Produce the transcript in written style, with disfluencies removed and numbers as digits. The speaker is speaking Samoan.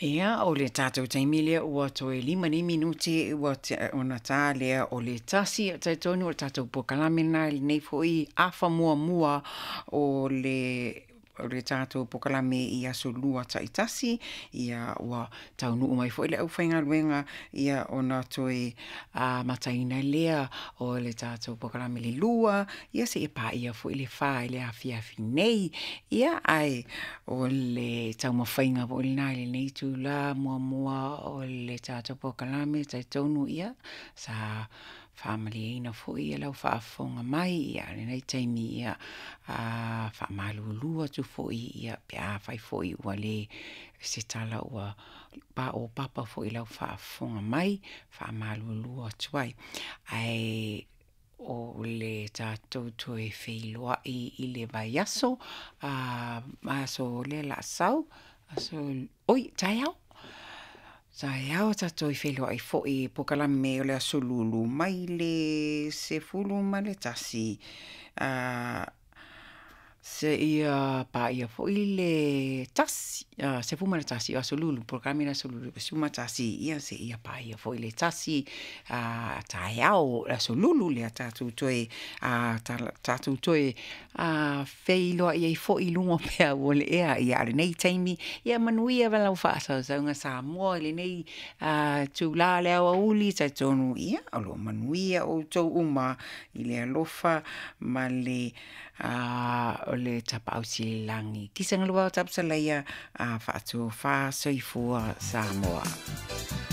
Ia, o le tatou taimi lea ua toe 5 nei minute ua ona tā lea o le 1. Talitonu o le tatou polokalame lena i lenei foi afa muamua o le tatou polokalame i Aso Lua taitasi. Ia, ua taunuu mai foi le aufaigaluega, ia ona toe amataina lea o le tatou polokalame i le 2, ia seia paia foi le 4 i le afiafi nei. Ia, ae o le taumafaiga foi lena i lenei itula muamua o le tatou polokalame. Talitonu ia sa faamalieina foi lau faafofoga mai ia lenei taimi ia faamalulu atu foi ia pe afai foi ua le se tala ua paopapa foi i lau faafofoga mai, faamalulu atu ai. Ae o le tatou toe feiloai i le vaiaso, aso lea o le a sau, oi, taeao. Taeao tatou toe feiloai foi i polokalame o le Aso Lulu mai le 11 seia paia foi le 11 o Aso Lulu, polokalame o le Aso Lulu 11, ia seia paia foi le 1 taeao o le Aso Lulu lea tatou toe feiloai ai foi i luga o peau o le ea. Ia, a o lenei taimi, ia manuia lau faasausauga Samoa i lenei itula o le aoauli. E talitonu ia o lo o manuia outou uma i le alofa ma le o le Tapaau Sili i le Lagi. Kisa galua o Tapusalaia, faatofa soifua Samoa.